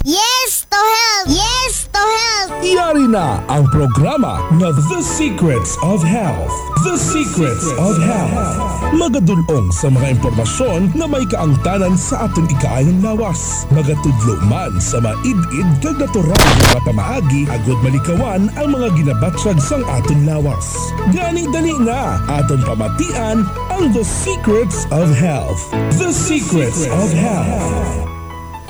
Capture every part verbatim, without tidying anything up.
Yes to health! Yes to health! Yari na ang programa nga The Secrets of Health. The Secrets of Health. Magadul-ong sa mga impormasyon nga may kaangtanan sa aton ikaayong lawas. Magatudlo man sa maid-id kag natural nga mga pamaagi agud malikawan ang mga ginabatyag sang aton lawas. Gani, dali na, aton pamatian ang The Secrets of Health. The Secrets of Health.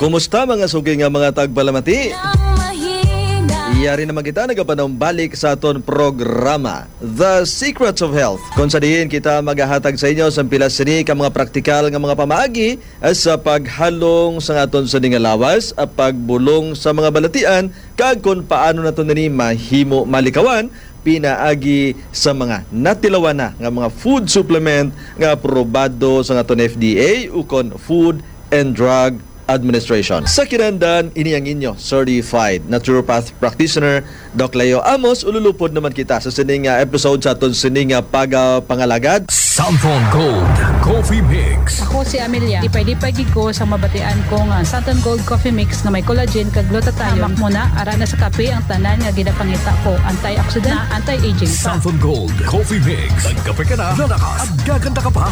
Kumusta, mga suki nga mga tagpalamati? Yari naman kita nagapanumbalik sa aton programa, The Secrets of Health, kung sa diin kita magahatag sa inyo sa pila sini ka mga praktikal nga mga pamaagi, eh, sa paghalong sa aton sini nga lawas, ah, pagbulong sa mga balatian, kag kung paano nato nini mahimo malikawan pinaagi sa mga natilawan na nga mga food supplement nga aprobado sa aton F D A ukon Food and Drug Administration. Sa kinahanglan, ini ang inyo certified naturopath practitioner, Doc Leo Amos. Ululupod naman kita sa sini nga episode sa aton sini nga pagapangalagad. Santon Gold Coffee Mix. Ako si Amelia. Lipay-lipay gid ko sa mabatian ko nga Santon Gold Coffee Mix nga may collagen kag glutathione. Hamak mo na, ara na sa kape ang tanan nga ginapangita ko. Antioxidant, anti-aging pa. Santon Gold Coffee Mix. Nagkape ka na, lalakas, at gaganda ka pa.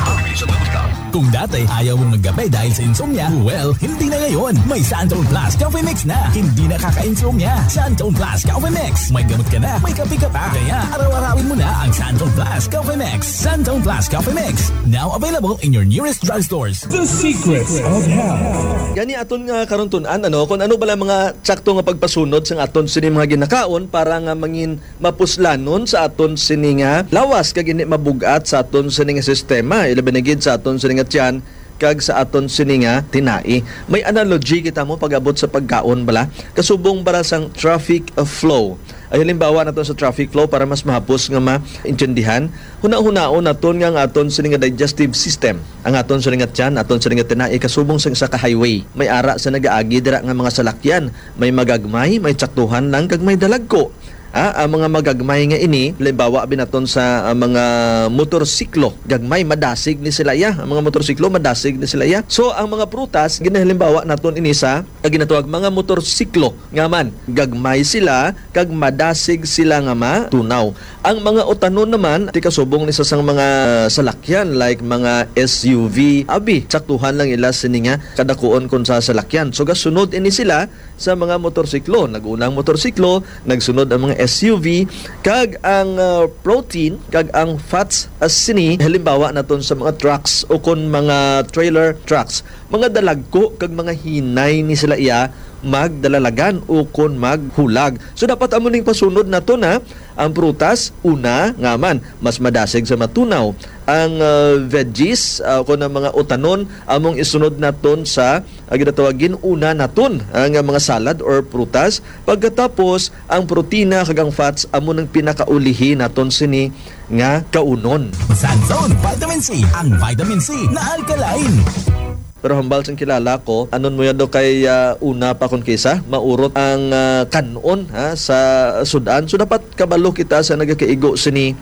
Kung dati, ayaw mong magkape dahil sa insomnia, well, hindi na ngayon. May Santon Plus Coffee Mix na. Hindi na kaka-insomnia. Santon Plus Coffee Mix. May gamot ka na, may kape ka pa. Kaya, araw-arawin mo na ang Santon Plus Coffee Mix. Santon Plus Coffee Mix. Now available in your nearest drugstores. The Secrets of Health. Gani aton nga karon tun-an, ano, kung ano bala mga tsakto nga pagpasunod sang aton sini mga ginakaon para nga mangin mapuslanon sa aton sini nga lawas kag hindi mabug-at sa aton sini nga sistema, ilabi na gid sa aton sini nga tiyan kag sa aton sini nga tinai. May analogy kita mo pag-abot sa pagkaon bala. Kasubong para sang traffic, uh, flow. Ay, halimbawa naton sa traffic flow para mas mahapos nga maintindihan. Hunahunaon naton nga ang aton sini nga digestive system, ang aton sini nga tiyan, aton sini nga tinai kasubong sang isa ka highway. May ara sa nagaagi dira nga mga salakyan. May magagmay, may tsaktuhan lang, kag may dalagko. Ah, ang mga magagmay nga ini, halimbawa binaton sa, ah, mga motorsiklo, gagmay, madasig ni sila iya. Ang mga motorsiklo, madasig ni sila iya. So, ang mga prutas, ginahalimbawa naton ini sa, ah, ginatawag mga motorsiklo nga man, gagmay sila, kag madasig sila nga matunaw. Ang mga utanon naman, ti kasubong ni sa sang mga salakyan, like mga S U V, abi, tsaktuhan lang ila sini nga kadakuon kon sa salakyan. So, gasunod ini sila sa mga motorsiklo. Nag-una ang motorsiklo, nagsunod ang mga S U V, kag ang, ah, protein, kag ang fats, as sini, halimbawa naton sa mga trucks o kon mga trailer trucks. Mga dalagko kag mga hinay ni sila iya magdalalagan o kon maghulag. So, dapat amo ning pasunod nato na ang prutas, una, nga man, mas madasig sa matunaw. Ang, ah, veggies, ah, kon ang mga utanon, among isunod naton sa, ah, ginatawag, gin-una naton ang, ah, mga salad or prutas. Pagkatapos, ang protina kag ang fats amo nang pinakaulihi naton sini nga kaunon. Santon Vitamin C, ang vitamin C na alkaline. Pero hambal sang kilala ko, anon mo yan daw kay, ah, una pa kon kisa, maurot ang, ah, kan-on, ha, sa sud-an. So, dapat kabalo kita sa nagakaigo sini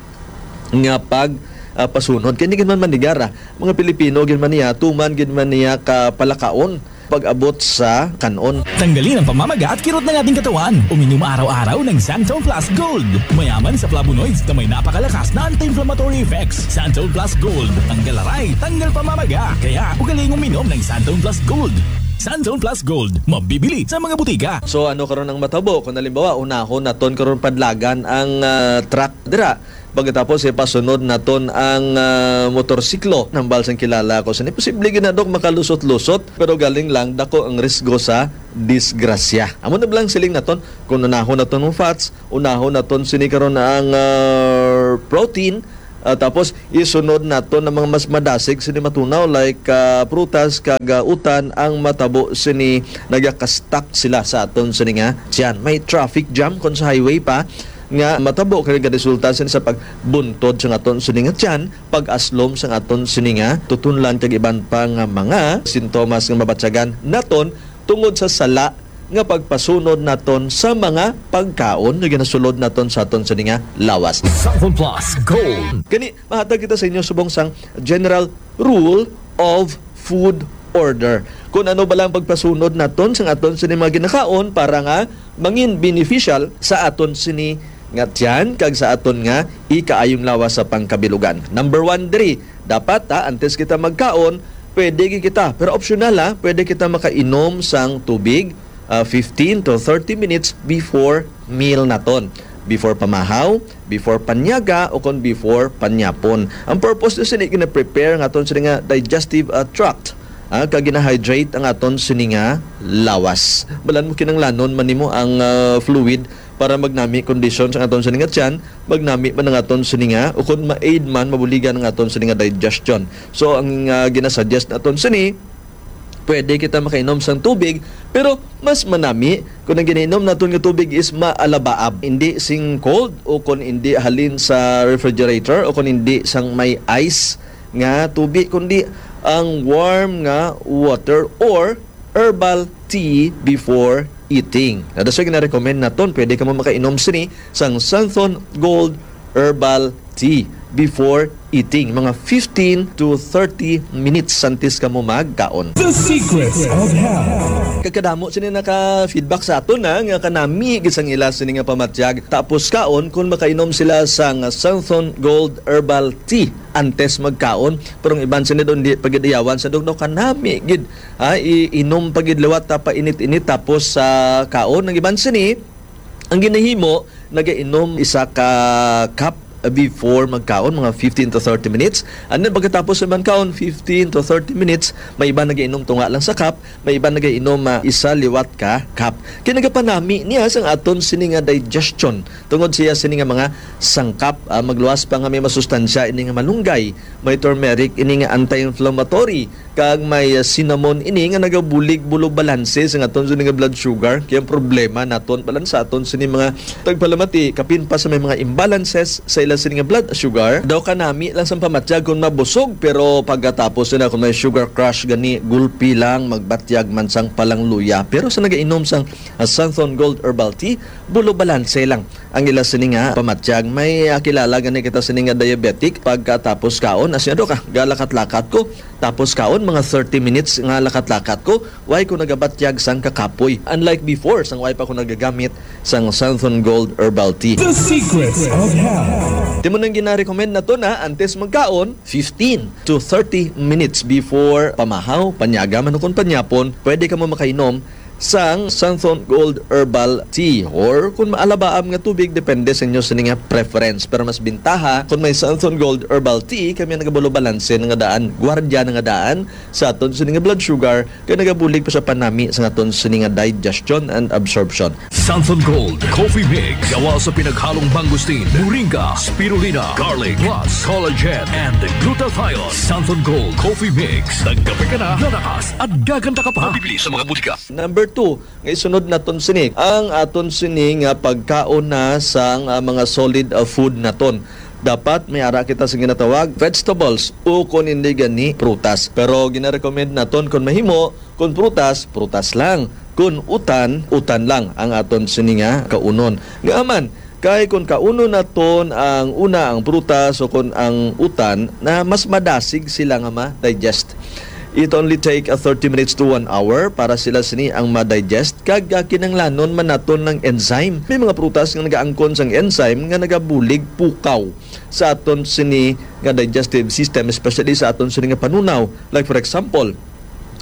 nga pag, ah, pasunod. Kay hindi gid man manigara, mga Pilipino gid man niya, tuman gid man niya ka palakaon pag-abot sa kan-on. Tanggalin ang pamamaga at kirot ng ating katawan. Uminom araw-araw ng Santon Plus Gold. Mayaman sa flavonoids na may napakalakas na anti-inflammatory effects. Santon Plus Gold. Tanggal aray, tanggal pamamaga. Kaya, ugaling uminom ng Santon Plus Gold. Santon Plus Gold. Mabibili sa mga butika. So, ano karon ang matabo? Kung halimbawa, unahon naton karon padlagan ang, ah, truck dira. Pagkatapos, ipasunod naton ang, ah, motorsiklo. Hambal sang kilala ko sini, posible gid na, Dok, makalusot-lusot, pero galing lang, dako ang risgo sa disgrasya. Amo na lang siling naton, kung unahon naton ang fats, unahon naton sini karon ang, ah, protein, ah, tapos isunod naton ang mga mas madasig sini matunaw, like, ah, prutas kag, ah, utan, ang matabo sini nagaka-stuck sila sa aton sini nga tiyan. May traffic jam kon sa highway pa, nga matabo kay nagaresulta sini sa pagbuntod sa aton sini nga tiyan, pag-aslom sa aton sini nga tutunlan, kag iban pa nga mga sintomas nga mabatyagan naton tungod sa sala nga pagpasunod naton sa mga pagkaon nga ginasulod naton sa aton sini nga lawas. Santon Plus Gold. Kani, mahatag kita sa inyo subong sang general rule of food order. Kung ano ba lang pagpasunod naton sa aton sini mga ginakaon para nga mangin beneficial sa aton sini nga tiyan kag sa aton nga ikaayong lawas sa pangkabilugan. Number one diri, dapat, ha, antes kita magkaon, pwede gid kita, pero optional, ha, pwede kita makainom sang tubig, ah, fifteen to thirty minutes before meal naton. Before pamahaw, before panyaga, o kon before panyapon. Ang purpose na sini, gina-prepare ang aton sini nga digestive, ah, tract, ah, kag gina-hydrate ang aton sini nga lawas. Balan mo, kinanglanon man nimo ang, ah, fluid para magnami kondisyon sa aton sini nga tiyan, magnami man ang aton sini nga, o kon ma-aid man, mabuligan ang aton sini nga digestion. So, ang, ah, ginasuggest naton sini, pwede kita makainom sang tubig, pero mas manami kung ang ginainom naton nga tubig is maalabaab, hindi sing cold o kung hindi halin sa refrigerator o kung hindi sang may ice nga tubig, kundi ang warm nga water or herbal tea before eating. Na, that's why gina-recommend naton, pwede ka mo makainom sini sang Santhon Gold Herbal Tea before eating, mga fifteen to thirty minutes antes ka mo magkaon. The Secrets of Health. Kagkadamo sini naka-feedback sa aton, ha, nga kanami gid sang ila sini nga pamatyag tapos kaon kung makainom sila sang Santhon Gold Herbal Tea antes magkaon. Pero ang iban sini daw, hindi pa gid iyawan sa dugnaw, kanami gid, ha, iinom pa gid liwat ta pa init-init tapos sa kaon. Ang iban sini, ang ginahimo, nagainom isa ka cup before magkaon, mga fifteen to thirty minutes. And then pagkatapos naman kaon, fifteen to thirty minutes, may iban nagainom tunga lang sa cup, may iban nagainom, ah, isa liwat ka cup. Kaya nagapanami niya sang aton sini nga digestion. Tungod siya sini nga mga sangkap, ah, magluwas pa nga may masustansya ini nga malunggay, may turmeric ini nga anti-inflammatory, kag may, ah, cinnamon ini nga nagabulig bulo balanse sa aton sini nga blood sugar. Kaya ang problema naton, balansa aton sini mga tagpalamati, kapin pa sa may mga imbalances sa ila sini nga blood sugar. Daw kanami lang sang pamatyag kung mabusog, pero pagkatapos nila kung may sugar crash gani, gulpi lang, magbatyag man sang palangluya. Pero sa nagainom sang, ah, Santhon Gold Herbal Tea, bulo balanse lang ang ila sini nga pamatyag. May, ah, kilala gani kita sini nga diabetic, pagkatapos kaon, asya do ka, galakat-lakat ko. Tapos kaon, mga thirty minutes nga lakat-lakat ko, way ko nagabatyag sang kakapoy. Unlike before, sang way pa ko nagagamit sang Santhon Gold Herbal Tea. The Secrets of Health. Timo nang gina-recommend naton, antes magkaon, fifteen to thirty minutes before pamahaw, panyaga man o kon panyapon, pwede ka mo makainom sang Santhon Gold Herbal Tea or kung maalabaam nga tubig, depende sa inyo sini nga preference. Pero mas bintaha kung may Santhon Gold Herbal Tea, kami ang nagabulo balanse na nga daan, gwardya na nga daan sa aton sini nga blood sugar, kay nagabulig pa sa panami sa aton sini nga digestion and absorption. Santhon Gold Coffee Mix. Gawa sa pinaghalong mangosteen, moringa, spirulina, garlic, plus collagen and glutathione. Santhon Gold Coffee Mix. Nagkape ka na, lalakas at gaganda ka pa. Mabibili sa mga butika. Number two, nga isunod naton sini, ang aton sini nga pagkaon na sang, ah, mga solid, ah, food naton. Dapat may ara kita sa ginatawag vegetables o kon hindi gani prutas. Pero gina-recommend naton kon mahimo, kon prutas, prutas lang. Kon utan, utan lang ang aton sini nga kaunon. Nga man, kay kon kaunon naton ang una, ang prutas o kon ang utan, na mas madasig sila nga ma-digest. It only take a thirty minutes to one hour para sila sini ang ma-digest, kag, ah, kinanglanon man naton ng enzyme. May mga prutas nga nagaangkon sang enzyme nga nagabulig pukaw sa aton sini nga digestive system, especially sa aton sini nga panunaw. Like, for example,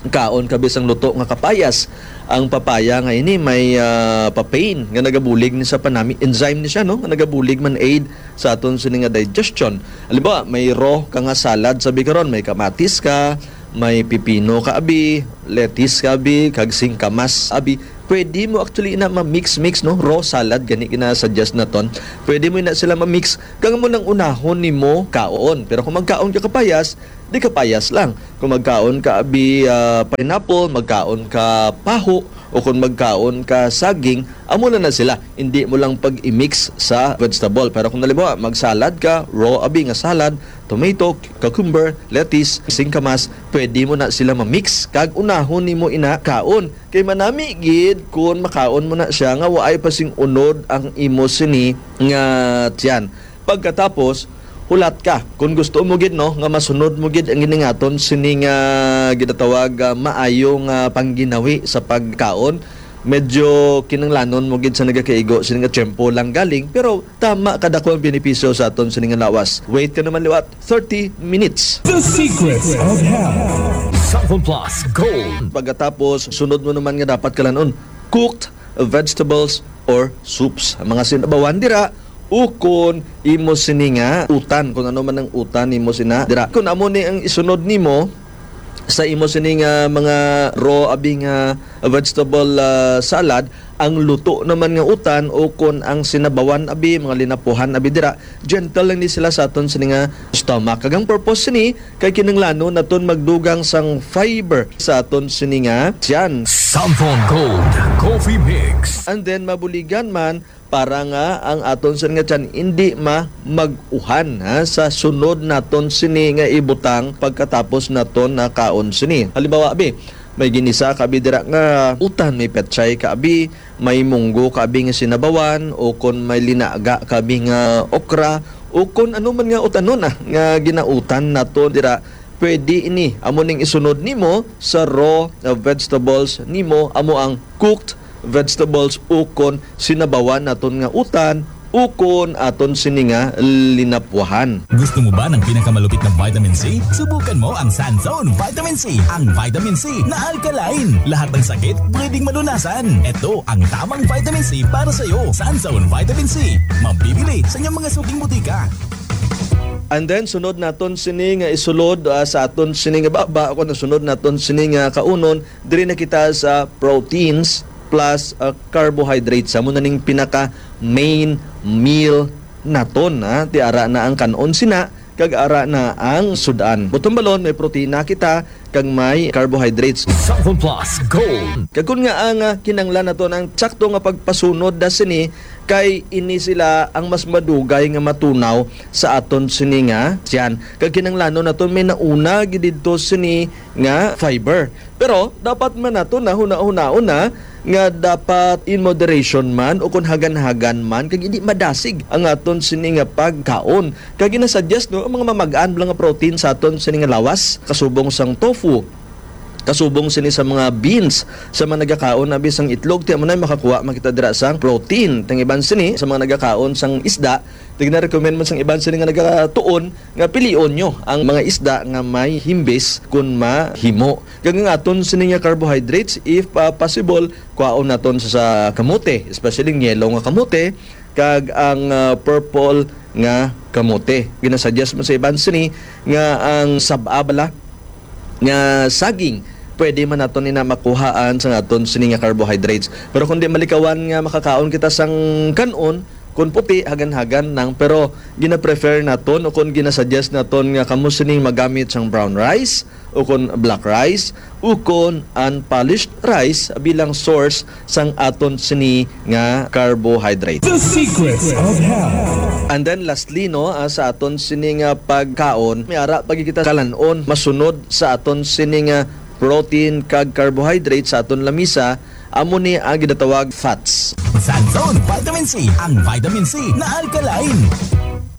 kaon ka bisang luto nga kapayas. Ang papaya nga ini may, ah, papain nga nagabulig ni sa panami, enzyme ni siya, no, nga nagabulig man aid sa aton sini nga digestion. Halimbawa, may raw ka nga salad, sabi karon, may kamatis ka, may pipino ka abi, lettuce ka abi, kag singkamas abi. Pwede mo actually na ma-mix-mix, no? Raw salad gani gina-suggest naton. Pwede mo na sila ma-mix kag amo nang unahon nimo kaon. Pero kung magkaon ka kapayas, di kapayas lang. Kung magkaon ka abi, ah, pineapple, magkaon ka paho, o kung magkaon ka saging, amo na na sila. Hindi mo lang pag-i-mix sa vegetable. Pero kung halimbawa, magsalad ka, raw abi nga salad, tomato, cucumber, lettuce, singkamas, pwede mo na sila ma-mix kag unahon nimo ina kaon. Kay manami gid kun makaon mo na siya nga waay pa sing unod ang imo sini nga tiyan. Pagkatapos, Hulat ka, kung gusto mo gid, no, nga masunod mo gid ang giningaton sining, ah, ginatawag, ah, maayo nga pangginawi sa pagkaon, medyo kinahanglanon mo gid sa nagakaigo sini nga tiyempo lang galing, pero tama kadako ang benepisyo sa aton sini nga lawas. Wait ka naman liwat, thirty minutes. The Secrets of Health. Cellphone Plus Gold. Pagkatapos, sunod mo naman nga dapat kalanon, cooked vegetables or soups. Ang mga sinabawan dira, ukon imo sini nga utan, kung ano man ang utan nimo sina dira. Kung amo ni ang isunod nimo sa imo sini nga mga raw abi nga vegetable, ah, salad, ang luto naman nga utan ukon ang sinabawan abi, mga linapuhan abi dira, gentle lang ni sila sa aton sini nga stomach. Kag ang purpose sini kay kinahanglanon naton magdugang sang fiber sa aton sini nga tiyan. Samsung Gold Coffee Mix. And then mabuligan man para nga ang aton sini nga tiyan hindi ma mag-uhan, ha, sa sunod naton sini nga ibutang pagkatapos naton nakaon sini. Halimbawa, abi, may ginisa ka abi dira nga utan, may petchay ka abi, may munggo ka abi nga sinabawan, o kon may linaga ka abi nga okra, o kon ano man nga utanon, ah, nga ginautan nato dira, pwede ini. Amo ning isunod nimo sa raw, uh, vegetables nimo, amo ang cooked vegetables ukon sinabawan naton nga utan ukon aton sini nga linapwahan. Gusto mo ba ng pinakamalupit na vitamin C? Subukan mo ang Sanzone Vitamin C. Ang vitamin C na alkaline. Lahat ng sakit pwedeng malunasan. Ito ang tamang vitamin C para sa iyo. Sanzone Vitamin C. Mabibili sa inyong mga suking butika. And then, sunod naton sini nga isulod, ah, sa aton sini nga baba, o kung sunod naton sini nga kaunon, diri na kita sa proteins plus, ah, carbohydrates. Amo na ning pinaka main meal naton, ha. Ti ara na ang kan-on sina, kag ara na ang sud-an. Buton balon, may protina kita, kag may carbohydrates. Cellphone Plus Gold. Kag kun nga ang, ah, kinanglan naton ang sakto nga pagpasunod da sini, kay ini sila ang mas madugay nga matunaw sa aton sini nga tiyan. Kag kinanglanon naton may nauna gid didto sini nga fiber. Pero dapat man nato na hunahunaon na nga dapat in moderation man o kon hagan-hagan man, kag hindi madasig ang aton sini nga pagkaon. Kag ginasuggest, no, ang mga mamag-an bala nga protein sa aton sini nga lawas, kasubong sang tofu, kasubong sini sa mga beans, sa mga nagakaon abi sang itlog, ti amo na makakuha man kita dira sang protein. Tang iban sini sa mga nagakaon sang isda, ti gina-recommend man sang iban sini nga nagatuon nga pilion nyo ang mga isda nga may himbis kun mahimo. Kag ang aton sini nga carbohydrates, if, ah, possible, kuhaon naton sa, sa kamote, especially ang yellow nga kamote, kag ang, ah, purple nga kamote. Ginasuggest man sa iban sini nga ang sab-a bala nga saging, pwede man naton ina makuhaan sa aton sini nga carbohydrates. Pero kung di malikawan nga makakaon kita sang kan-on, kun puti, hagan-hagan lang, pero gina-prefer naton o kun ginasuggest naton nga kamo sini magamit sang brown rice o kun black rice o kun unpolished rice bilang source sang aton sini nga carbohydrate. The Secrets of Health. And then lastly, no, ah, sa aton sini nga pagkaon, may ara pa gid kita kalan-on masunod sa aton sini nga protein kag carbohydrate sa aton lamisa, amo ni ang ginatawag fats. Sanzone Vitamin C, ang vitamin C na alkaline.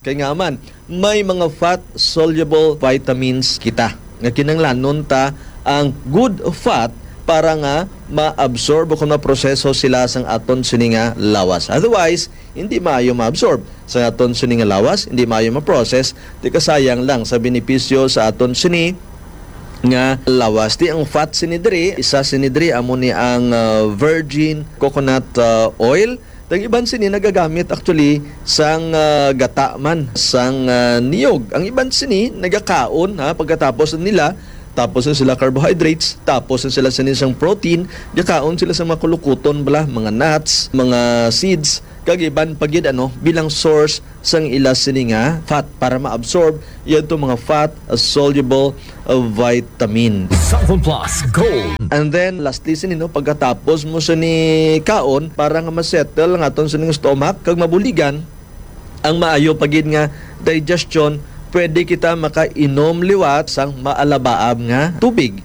Kay nga man, may mga fat-soluble vitamins kita nga kinahanglanon ta ang good fat para nga ma-absorb o kung maproseso sila sang aton sini nga lawas. Otherwise, hindi maayo ma-absorb sa aton sini nga lawas, hindi maayo ma-process, di kasayang lang sa benepisyo sa aton sini nga lawas. Di ang fat sini diri, isa sini diri amo ni ang, ah, virgin coconut, ah, oil. Ang iban sini nagagamit actually sang, ah, gata man sang, ah, niyog. Ang iban sini nagakaon, ha, pagkatapos nila, tapos na sila carbohydrates, tapos na sila sini sang protein, gakaon sila sa mga kulukuton bala, mga nuts, mga seeds, kag iban pa gid, ano, bilang source sang ila sini nga fat para ma-absorb yadto mga fat, uh, soluble, uh, vitamin. Cellphone Plus Gold. And then lastly sini, no, pagkatapos mo sini kaon, para nga ma-settle ang aton sining stomach kag mabuligan ang maayo pa gid nga digestion, pwede kita makainom liwat sang maalabaab nga tubig.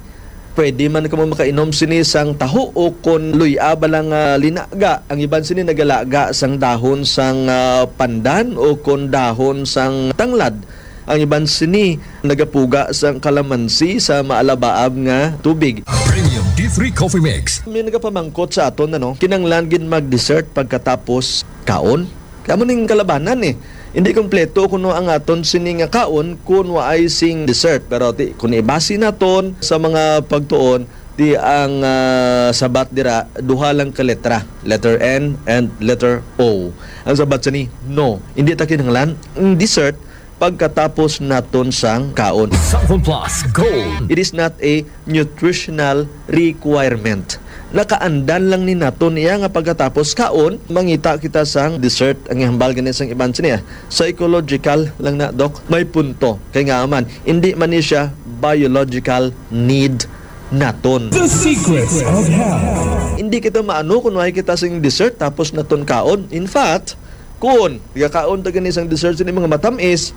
Pwede man kamo makainom sini sang taho o kon luy-a bala nga linaga. Ang iban sini nagalaga sang dahon sang, ah, pandan o kon dahon sang tanglad. Ang iban sini nagapuga sang kalamansi sa maalabaab nga tubig. Premium D three Coffee Mix. May nagapamangkot sa aton, ano, kinahanglan gid mag-dessert pagkatapos kaon? Kamo ning kalabanan, eh. Hindi kompleto kuno ang aton sini nga kaon kun waay sing dessert. Pero ti, kung ibasi naton sa mga pagtuon, ti ang, ah, sabat dira, duha lang ka letra, letter N and letter O. Ang sabat sini, no. Hindi ta kinahanglan ang dessert pagkatapos naton sang kaon. Sample Plus Gold. It is not a nutritional requirement. Nakaandan lang ni naton iya nga pagkatapos kaon, mangita kita sang dessert. Ang ihambal gani sang iban sini, ah, psychological lang na, Doc. May punto. Kay nga man, hindi man ni siya biological need naton. The Secrets of Health. Hindi kita maano kung waay kita sing dessert tapos naton kaon. In fact, kung gakaon ta gani sang dessert sini mga matamis,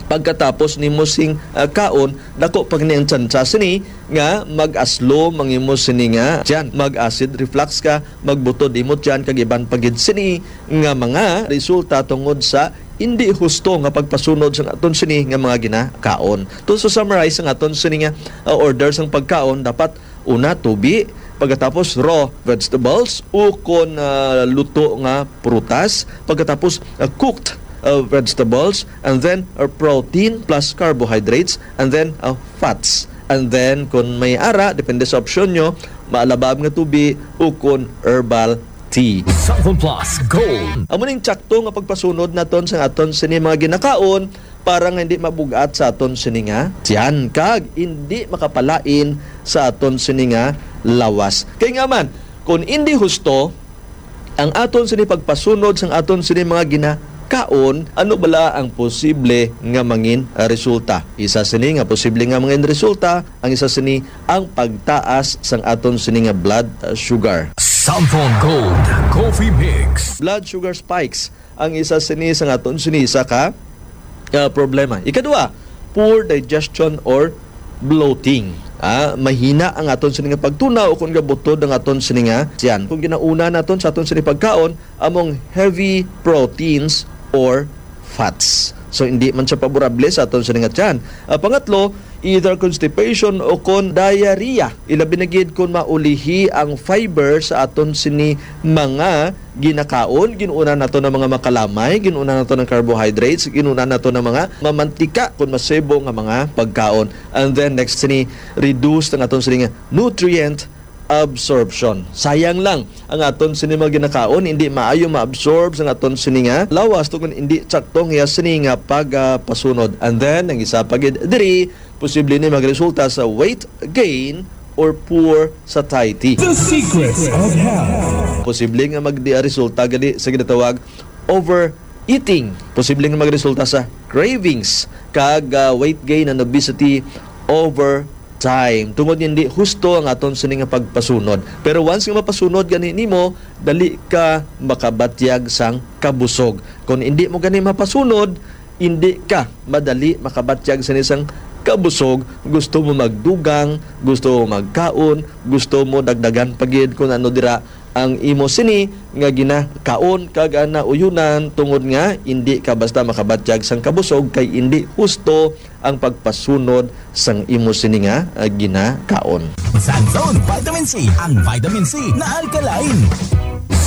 pagkatapos nimo sing, ah, kaon, dako pa gani ang tsansa sini nga mag-aslo, mangimo sini nga tiyan, mag-acid reflux ka, magbutod imo tiyan, kag iban pa gid sini nga mga resulta tungod sa hindi husto nga pagpasunod sang aton sini nga mga ginakaon. To, so summarize ang aton sini nga, ah, order sang pagkaon, dapat una tubi, pagkatapos raw vegetables, ukon, ah, luto nga prutas, pagkatapos, ah, cooked, ah, vegetables, and then, ah, protein plus carbohydrates, and then, ah, fats. And then, kung may ara, depende sa opsyon nyo, maalabab nga tubi, ukon herbal tea. Sample Plus Gold. Amo ning tsakto nga pagpasunod naton sa aton sini mga ginakaon para nga hindi mabug-at sa aton sini nga tiyan kag hindi makapalain sa aton sini nga lawas. Kay nga man, kung hindi husto ang aton sini pagpasunod sang aton sini mga ginakaon, ano bala ang posible nga mangin, ah, resulta? Isa sini nga posible nga mangin resulta, ang isa sini ang pagtaas sang aton sini nga blood, ah, sugar. Sample Gold Coffee Mix. Blood sugar spikes ang isa sini sang aton sini isa ka, ah, problema. Ikadua, poor digestion or bloating. Ah, mahina ang aton sini nga pagtunaw o kung gabutod ang aton sini nga tiyan. Kung ginauna naton sa aton sini pagkaon, among heavy proteins or fats. So, hindi man siya paborable sa aton sini nga tiyan. Ah, pangatlo, either constipation o kon diarrhea. Ilabi na gid kon maulihi ang fiber sa aton sini mga ginakaon, ginuna nato ng mga makalamay, ginuna nato ng carbohydrates, ginuna nato ng mga mamantika kon masibo nga mga pagkaon. And then next sini, reduce ang aton sini nga nutrient absorption. Sayang lang ang aton sini mga ginakaon, hindi maayo ma-absorb sa aton sini nga lawas tungod hindi sakto ang iya sini nga pagpasunod. And then ang isa pa gid diri, posible ni magresulta sa weight gain or poor satiety. The Secrets of Health. Posible nga magresulta gani sa ginatawag overeating. Posible nga magresulta sa cravings kag, ah, weight gain and obesity over time. Tungod hindi husto ang aton sini nga pagpasunod. Pero once nga mapasunod gani nimo, dali ka makabatyag sang kabusog. Kung hindi mo gani mapasunod, hindi ka madali makabatyag sini sang kabusog. Gusto mo magdugang, gusto mo magkaon, gusto mo dagdagan pa gid kung ano dira ang imo sini nga ginakaon kag, ah, nauyonan, tungod nga indi ka basta makabatyag sang kabusog kay indi husto ang pagpasunod sang imo sini nga, ah, ginakaon. Santon Vitamin C, ang vitamin C na alkaline.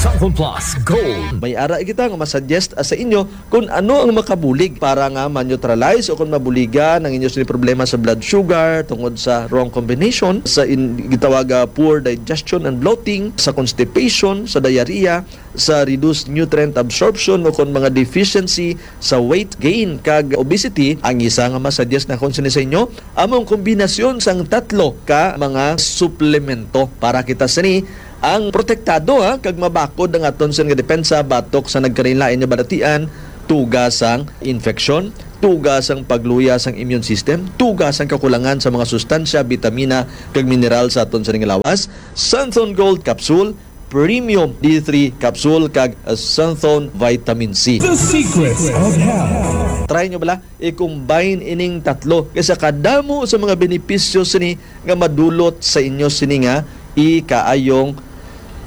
Santon Plus Gold. May ara kita nga masuggest, ah, sa inyo kung ano ang makabulig para nga ma-neutralize o kung mabuligan ang inyo sini problema sa blood sugar tungod sa wrong combination sa in-, gitawag, ah, poor digestion and bloating, sa constipation, sa diarrhea, sa reduced nutrient absorption o kon mga deficiency sa weight gain kag obesity. Ang isa nga masuggest nakon sini sa inyo, amo ang kombinasyon sang tatlo ka mga suplemento para kita sini ang protektado, ha, kag mabakod ang aton sini nga depensa batok sa nagkalainlain nga balatian, tuga sang infeksyon, tuga sang pagluya sang immune system, tuga sang kakulangan sa mga sustansya, bitamina, kag mineral sa aton sini nga lawas. Santhon Gold Capsule, Premium D three Capsule, kag Santhon Vitamin C. The Secrets of Health. Try nyo bala, i-combine ining tatlo. Kay sa kadamo sa mga benepisyo sini nga madulot sa inyo sini nga ikaayong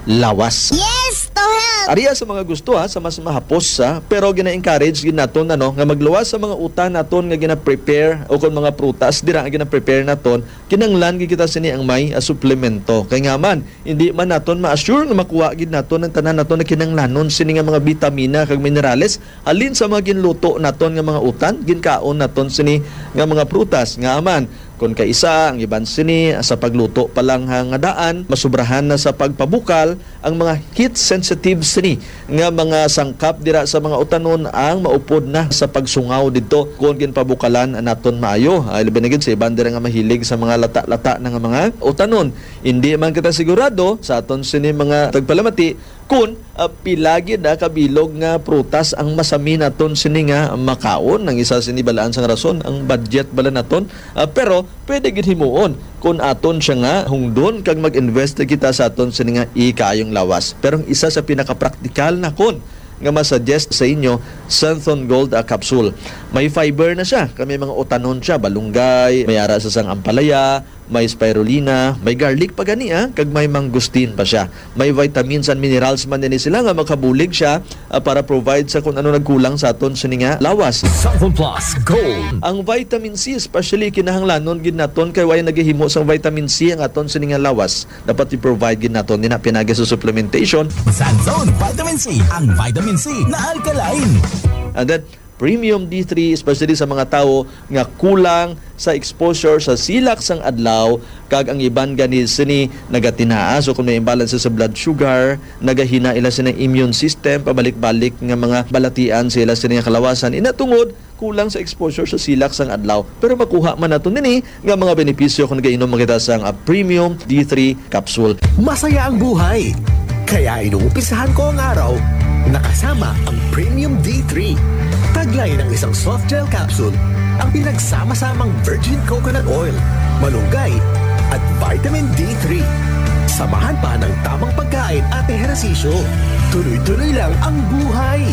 lawas. Yes to health! Ariya sa mga gusto, ha, sa mas mahapos, ha, pero gina-encourage gid naton, ano, nga magluwas sa mga utan naton nga gina-prepare o kung mga prutas dira nga gina-prepare naton, kinahanglan gid kita sini ang may, ah, suplemento. Kay nga man, hindi man naton ma-assure nga makuha gid naton ang tanan naton na kinahanglanon sini nga mga bitamina kag minerales halin sa mga ginluto naton nga mga utan, ginkaon naton sini nga mga prutas. Nga man, kon kaisa, ang iban sini sa pagluto pa lang ha nga daan, masubrahan na sa pagpabukal ang mga heat sensitive sini nga mga sangkap dira sa mga utanon ang maupod na sa pagsungaw didto kon ginpabukalan naton maayo. Ah, labi na gid sa iban dira nga mahilig sa mga lata-lata na nga mga utanon. Hindi man kita sigurado sa aton sini mga tagpalamati kon, ah, pila gid, ah, kabilog nga prutas ang masami naton sini nga makaon. Ang isa sini balaan sang rason, ang budget bala naton. Ah, pero pwede gid himuon kon aton siya nga hungdon kag mag-invest kita sa aton sini nga ikaayong lawas. Pero ang isa sa pinakapraktikal nakon nga masuggest sa inyo, Santhon Gold, ah, capsule. May fiber na siya, kay may mga utanon siya, balunggay, may ara sa sang ampalaya, may spirulina, may garlic pa gani, ah, kag may mangosteen pa siya. May vitamins and minerals man din sila nga makabulig siya, ah, para provide sa kung ano nagkulang sa aton sini nga lawas. Santhon Plus Gold. Ang vitamin C, especially, kinahanglanon gid naton kay way nagahimo sang vitamin C ang aton sini nga lawas. Dapat i-provide gid naton din pinagi sa supplementation. Santhon Vitamin C, ang vitamin C na alkaline. And then, Premium D three, especially sa mga tawo nga kulang sa exposure sa silak sang adlaw, kag ang iban gani sini nagatinaa. So, kung may imbalance sa blood sugar, nagahina ila sini immune system, pabalik-balik nga mga balatian sa ila sini nga kalawasan. Ina tungod kulang sa exposure sa silak sang adlaw. Pero makuha man nato nini nga mga benepisyo kung nagainom kita sang, ah, Premium D three capsule. Masaya ang buhay. Kaya inumpisahan ko ang araw na kasama ang Premium D three. Taglay ng isang soft gel capsule ang pinagsama-samang virgin coconut oil, malunggay, at vitamin D three. Samahan pa ng tamang pagkain at ehersisyo. Tuloy-tuloy lang ang buhay.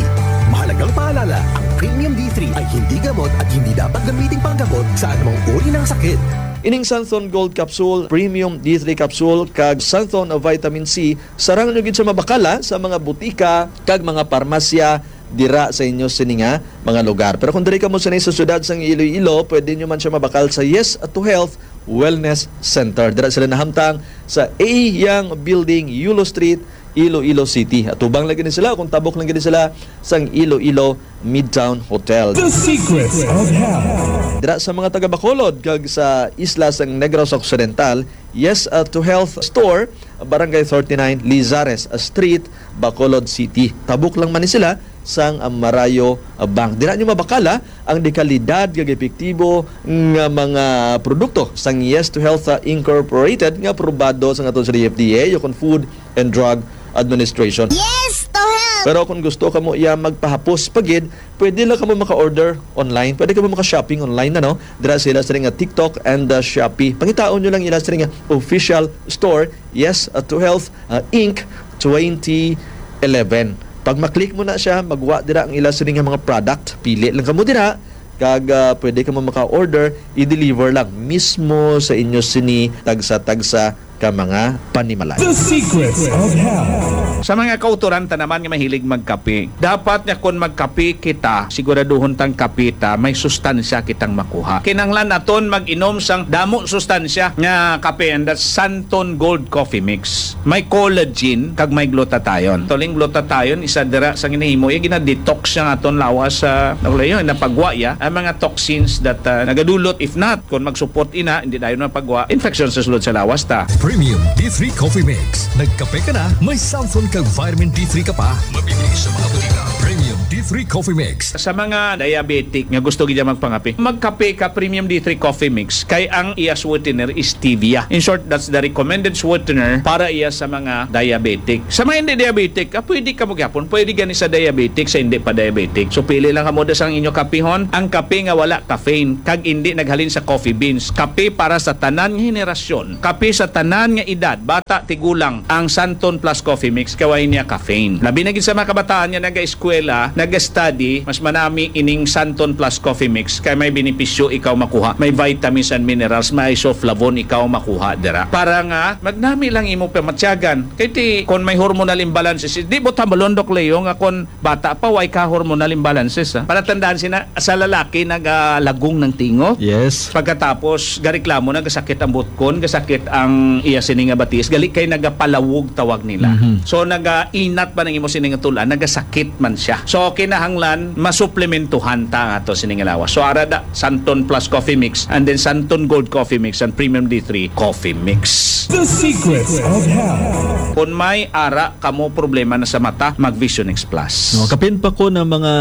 Mahalagang paalala, ang Premium D three ay hindi gamot at hindi dapat gamitin panggamot sa anumang uri ng sakit. Ining Santhon Gold Capsule, Premium D three Capsule, kag Santhon Vitamin C, sarang nyo gid siya mabakala sa mga butika kag mga parmasya dira sa inyo sini nga mga lugar. Pero kung diri kamo sini sa siyudad sang Iloilo, pwede nyo man siya mabakal sa Yes to Health Wellness Center. Dira sila nahamtang sa A Young Building, Yulo Street, Iloilo City. Atubang lang gid sila, kung tabok lang gid sila sang Iloilo Midtown Hotel. The Secrets of Health. Dira sa mga taga Bacolod kag sa isla sang Negros Occidental, Yes, uh, to Health Store, Barangay thirty-nine, Lizares, uh, Street, Bacolod City. Tabok lang man ni sila sang, uh, Marayo, uh, Bank. Dira nyo mabakala ang dekalidad kag epektibo nga mga produkto sang Yes to Health, uh, Incorporated nga aprobado sa aton sa D F D A, o kon Food and Drug Administration. Yes to Health! Pero kung gusto kamo iya magpahapos pa gid, pwede lang kamo maka-order online, pwede kamo maka-shopping online na, no? Dira sila sa nga TikTok and, uh, Shopee. Pangitaon nyo lang ila sa nga official store, Yes, uh, to Health, uh, Inc twenty eleven. Pag maklik mo na siya, magwa dira ang ila sini nga mga product. Pili lang kamo dira, kag, ah, pwede kamo maka-order, i-deliver lang mismo sa inyo sini tagsa-tagsa ka mga panimalay. The Secrets of Health. Sa mga kautoran ta naman nga mahilig magkape, dapat nga kon magkape kita, siguraduhon tang kape ta may sustansya kitang makuha. Kinahanglan naton mag-inom sang damo sustansya nga kape, and that's Santon Gold Coffee Mix. May collagen kag may glutathione. Actually, ang glutathione, isa dira sa ginahimo, iya gina-detox siya nga aton lawas sa, ano yun, napagwa ya ang mga toxins that, ah, nagadulot. If not, kung mag-support ina, hindi dayon mapagwa, infection sa sulod sa lawas ta. Premium D three Coffee Mix. Nagkape ka na, may Santon kag vitamin D three ka pa. Mabibili sa mga butika. Premium D three Coffee Mix. Sa mga diabetic nga gusto gid magpangape, magkape ka Premium D three Coffee Mix, kay ang iya sweetener is stevia. In short, that's the recommended sweetener para iya sa mga diabetic. Sa mga hindi diabetic, ah, pwede kamo gyapon, pwede gani sa diabetic, sa hindi pa diabetic. So, pili lang kamo da sang inyo kapihon, ang kape nga wala caffeine, kag hindi naghalin sa coffee beans. Kape para sa tanan nga henerasyon. Kape sa tanan nga edad, bata, tigulang, ang Santon Plus Coffee Mix kay way niya caffeine. Labi na gid sa mga kabataan nga naga-eskwela, naga-study, mas manami ining Santon Plus Coffee Mix kay may benepisyo ikaw makuha, may vitamins and minerals, may isoflavone ikaw makuha dira. Para nga magnami lang imo pamatyagan. Kay ti kon may hormonal imbalances, di ba tambalon, Doc Leo, nga kon bata pa, way ka hormonal imbalances, ha? Para tandaan sina, sa lalaki, nagalagong ng tingo. Yes. Pagkatapos, gareklamo na, gasakit ang butkon, gasakit ang iya sini nga batis, gali kay nagapalawog tawag nila. Mhm. So, nagainat ba nang imo sini nga tulan, nagasakit man siya. So, kinahanglan, masuplementuhan ta ang ato sini nga lawas. So, ara da, Santon Plus Coffee Mix, and then Santon Gold Coffee Mix, and Premium D three Coffee Mix. The Secrets of Health. Kung may ara kamo problema na sa mata, mag Vision X Plus. No, kapin pa ko ng mga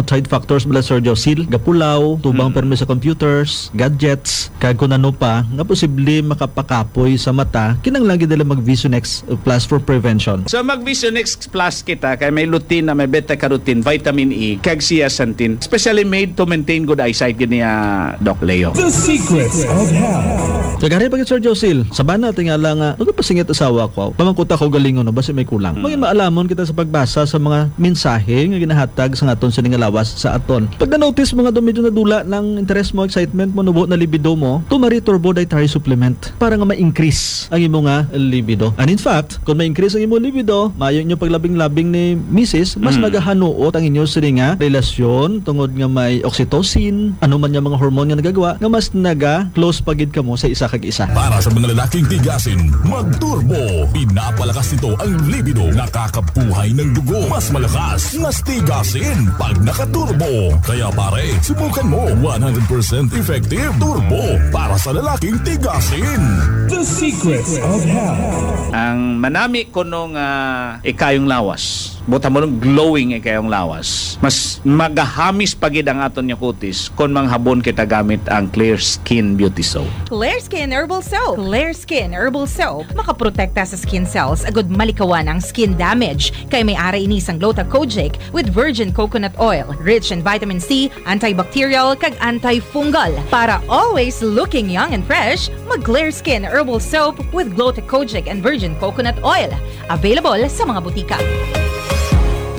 outside factors bala, Sir Josil, gapulaw, tubang Mm. permi sa computers, gadgets, kag kung ano pa, nga posible makapakapoy sa mata, kinahanglan gid nila mag Vision X Plus for prevention. So, mag Vision X Plus kita kay may lutein na may beta carotene, vitamin E, kag zeaxanthin, specially made to maintain good eyesight gid niya, Doc Leo. The Secrets of Health. Kagari pa gid, Sir Josil, sa bana, tingala nga, magpasingit asawa ko. Pamangkuta ko galingon, no, basi may kulang. Hmm. May maalamon kita sa pagbasa sa mga mensahe nga ginahatag sa aton sini nga lawas sa aton. Pag na-notice mo nga daw medyo nadula ng interes mo, excitement mo, nubo na libido mo, Tumari Turbo Dietary Supplement para nga ma-increase ang imo nga libido. And in fact, kung ma-increase ang imo libido, maayo inyo paglabing-labing ni misis, mas Mm. magahanuot ang inyo sini nga relasyon tungod nga may oxytocin, ano man nga mga hormone nga nagagawa, nga mas naga-close pa gid kamo sa isa kag isa. Para sa mga lalaking tigasin, mag-turbo. Pinapalakas nito ang libido, nakakabuhay ng dugo. Mas malakas, mas tigasin pag naka-turbo. Kaya pare, subukan mo. One hundred percent effective turbo para sa lalaking tigasin. The Secrets of Health. Ang manami kuno nga ikayong lawas, buta mo lang glowing ikayong lawas, mas magahamis pa gid ang aton nga kutis kon manghabon kita gamit ang Clear Skin Beauty Soap. Clear Skin Herbal Soap. Clear Skin Herbal Soap makaprotekta sa skin cells agud malikawan ang skin damage, kay may ara ini sang Gluta Kojic with virgin coconut oil, rich in vitamin C, antibacterial, kag antifungal. Para always looking young and fresh, mag Clear Skin Herbal Soap with Gluta Kojic and virgin coconut oil. Available sa mga butika.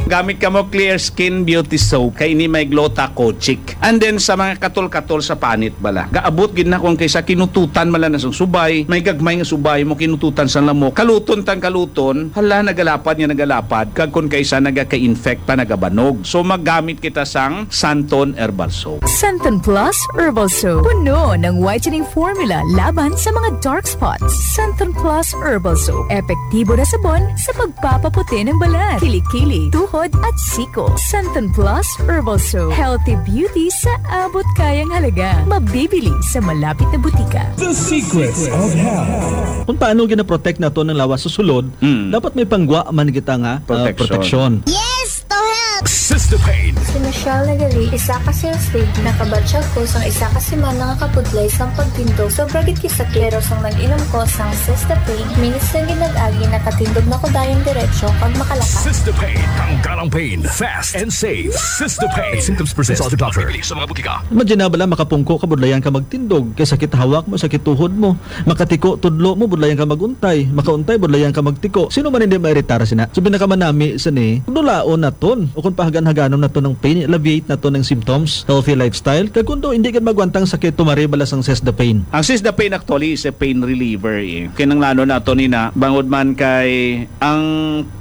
Gamit kamo Clear Skin Beauty Soap, kay ini may Gluta Kojic. And then sa mga katol-katol sa panit bala, gaabot gid na kung kaysa kinututan man lang na sang subay, may gagmay nga subay mo kinututan sang lamok. Kaluton tang kaluton, hala, nagalapad nga nagalapad, kag kung kaysa nagaka-infect pa, nagabanog. So, maggamit kita sang Santon Herbal Soap. Santon Plus Herbal Soap. Puno ng whitening formula laban sa mga dark spots. Santon Plus Herbal Soap. Epektibo na sabon sa pagpapaputi ng balat, kilikili, tuhod, at siko. Santon Plus Herbal Soap. Healthy beauty sa abot kayang halaga. Mabibili sa malapit na butika. The Secrets of Health. Kung paano ginaprotect nato ng lawas sa sulod, Mm. dapat may panggwa man kita nga, ah, Protection. protection. Yes, to help! Sister Pain. Si Michelle Nagali, isa ka sales lady. Nakabatyag ko sang isa ka semana nga kapudlay sang pagtindog. Sobra gid kisaklero sang nag-inom ko sang Sister Pain. Minutes lang gid nag-agi, nakatindog na ko dayon diretso kag makalakat. Sister Pain. Tanggal ang pain. Fast and safe. Sister Pain. If symptoms persist, consult your doctor. Mabibili sa mga butika. Imagine na bala, makapungko ka, budlayan ka magtindog, kay sakit hawak mo, sakit tuhod mo, makatiko, tudlo mo, budlayan ka maguntay, makauntay, budlayan ka magtiko. Sino man hindi mairitar sina? So, pinakamanami sini, dulaon naton, o kung pahagan-haganon naton ang pain, alleviate naton ang symptoms, healthy lifestyle. Kag kung daw hindi ka magwantang sakit, tumari bala sang Seize the Pain. Ang Seize the Pain actually is a pain reliever, eh. Kinanglanon nato ni na, bangod man kay ang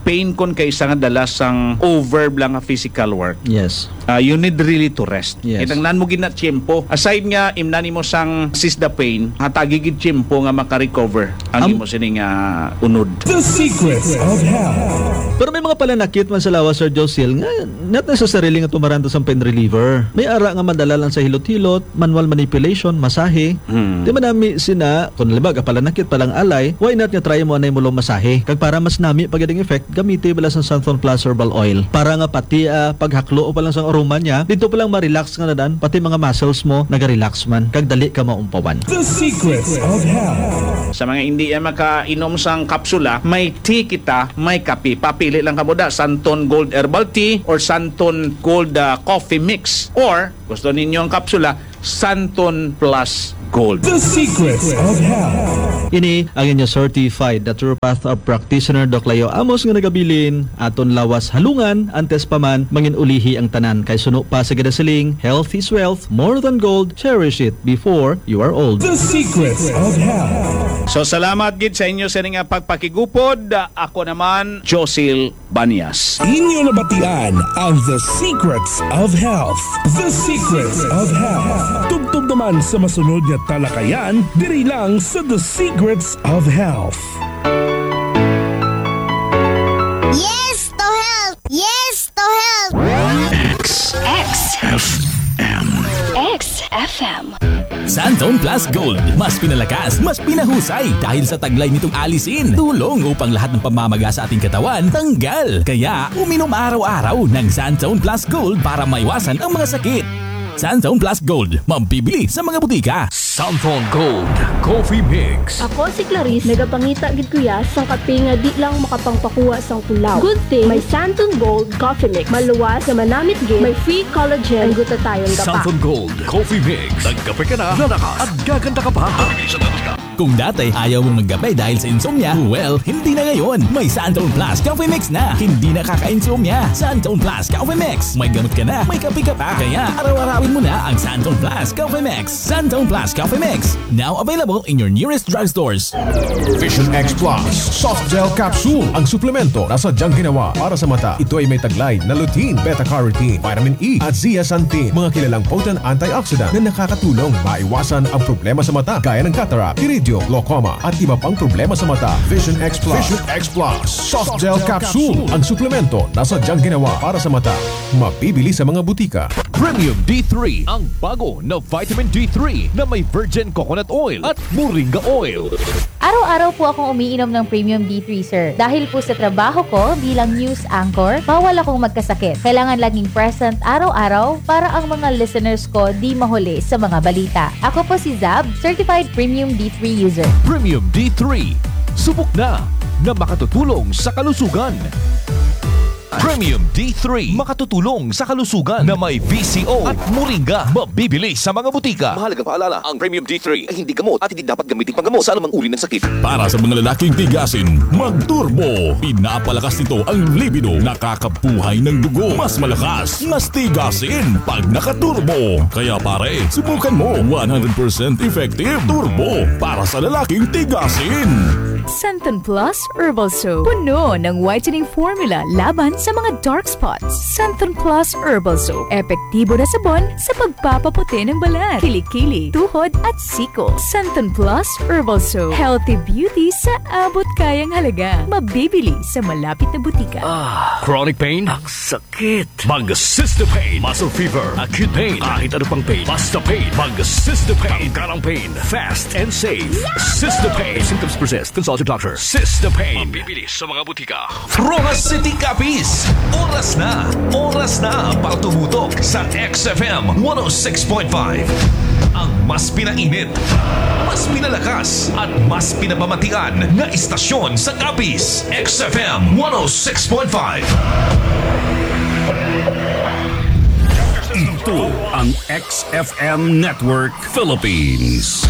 pain kon kay isa nga dala sang over lang nga physical work. Yes. Ah, you need really to rest. Yes. Kinahanglan mo gid na tiyempo. Aside nga imnan nimo sang Seize the Pain, hatagi gid tiyempo nga maka-recover ang Am- imo sining, ah, unod. The Secrets of Health. Pero may mga pananakit man sa lawas, Sir Josil, nga not necessarily nga tumaran ta sang pain reliever. May ara nga madala lang sa hilot-hilot, manual manipulation, masahe. Hmm. Di man nami sina, kung halimbawa, kapalanakit pa lang alay, why not nga try mo anay mo lang masahe? Kag para mas nami pa gid ang effect, gamiti bala sang Santon Plus Herbal Oil. Para nga pati, ah, paghaklo pa lang sang aroma niya, dito pa lang ma-relax nga na dan, pati mga muscles mo naga-relax man, kag dali ka maumpawan. The Secrets of Health. Sa mga hindi yan makainom sang kapsula, may tea kita, may kape. Papili lang kamo da, Santon Gold Herbal Tea or Santon Gold, ah, Coffee Mix. Or, gusto ninyo ang kapsula, Santon Plus Gold. The Secrets of Health. Ini ang inyo certified naturopath practitioner, Doc Leo Amos, nga nagabilin aton lawas halungan antes pa man mangin-ulihi ang tanan, kay suno pa sa ginasiling, "Health is wealth, more than gold, cherish it before you are old." The Secrets of Health. So, salamat gid sa inyo sa ining pagpakigupod. Ako naman, Josil Banyas. Inyo nabatian ang The Secrets of Health. The Secrets of Health. Tubtob naman sa masunod nga talakayan diri lang sa The Secrets of Health. Yes to health! Yes to health! X F M. X F M. Santon Plus Gold. Mas pinalakas, mas pinahusay. Dahil sa taglay nitong alisin, tulong upang lahat ng pamamaga sa ating katawan tanggal. Kaya, uminom araw-araw ng Santon Plus Gold para maiwasan ang mga sakit. Santon Plus Gold, mabibili sa mga butika. Santon Gold Coffee Mix. Ako si Clarice, nagapangita gid kuya sang kape nga di lang makapangpakuha sang pulaw. Good thing may Santon Gold Coffee Mix. Maluwas nga manamit gid, may free collagen, ang gutatayon ka pa. Santon Gold Coffee Mix. Nagkape ka na, lalakas, at gaganda ka pa. Kung dati ayaw mong magkape dahil sa insomnia, well, hindi na ngayon. May Santon Plus Coffee Mix na. Hindi nakaka-insomnia. Santon Plus Coffee Mix. May gamot ka na, may kape ka pa. Kaya araw-arawin mo na ang Santon Plus Coffee Mix. Santon Plus Coffee Mix. Now available in your nearest drugstores. Vision X Plus Soft Gel Capsule. Ang suplemento na sadyang ginawa para sa mata. Ito ay may taglay na lutein, beta-carotene, vitamin E, at zeaxanthin, mga kilalang potent antioxidant na nakakatulong maiwasan ang problema sa mata gaya ng cataract, iridium, glaucoma, at iba pang problema sa mata. Vision X Plus. Vision X Plus Soft Gel Capsule. Ang suplemento na sadyang ginawa para sa mata. Mabibili sa mga butika. Premium D three, ang bago na vitamin D three na may virgin coconut oil at moringa oil. Araw-araw po akong umiinom ng Premium D three, sir. Dahil po sa trabaho ko bilang news anchor, bawal akong magkasakit. Kailangan laging present araw-araw para ang mga listeners ko di mahuli sa mga balita. Ako po si Zab, certified Premium D three user. Premium D three, subok na, na makatutulong sa kalusugan. Premium D three, makatutulong sa kalusugan, na may V C O at moringa, mabibili sa mga butika. Mahalagang paalala, ang Premium D three ay hindi gamot at hindi dapat gamitin panggamot sa anumang uri ng sakit. Para sa mga lalaking tigasin, mag-turbo. Pinapalakas nito ang libido, nakakabuhay ng dugo. Mas malakas, mas tigasin pag naka-turbo. Kaya pare, subukan mo. One hundred percent effective. Turbo para sa lalaking tigasin. Santon Plus Herbal Soap. Puno ng whitening formula laban sa mga dark spots. Santon Plus Herbal Soap. Epektibo na sabon sa pagpapaputi ng balat, kilikili, tuhod at siko. Santon Plus Herbal Soap. Healthy beauty sa abot kayang halaga. Mabibili sa malapit na butika. Ah, chronic pain? Ang sakit. Mag Sister Pain. Muscle fever, acute pain, kahit ano pang pain. Basta pain. Mag Sister Pain. Tanggalang pain. Fast and safe. Sister Pain. If symptoms persist, consult your doctor. Sister Pain. Mabibili sa mga butika. Roxas City, Capiz. Oras na. Oras na para tumutok sa X F M one oh six point five. Ang mas pinainit, mas pinalakas, at mas pinapamatian na istasyon sa Capiz. X F M one oh six point five. Ito ang X F M Network Philippines.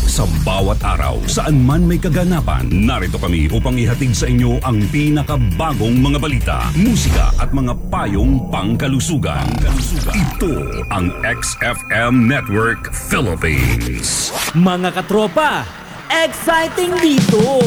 Sa bawat araw, saan man may kaganapan, narito kami upang ihatid sa inyo ang pinakabagong mga balita, musika at mga payong pangkalusugan. Ito ang X F M Network Philippines. Mga katropa, exciting dito!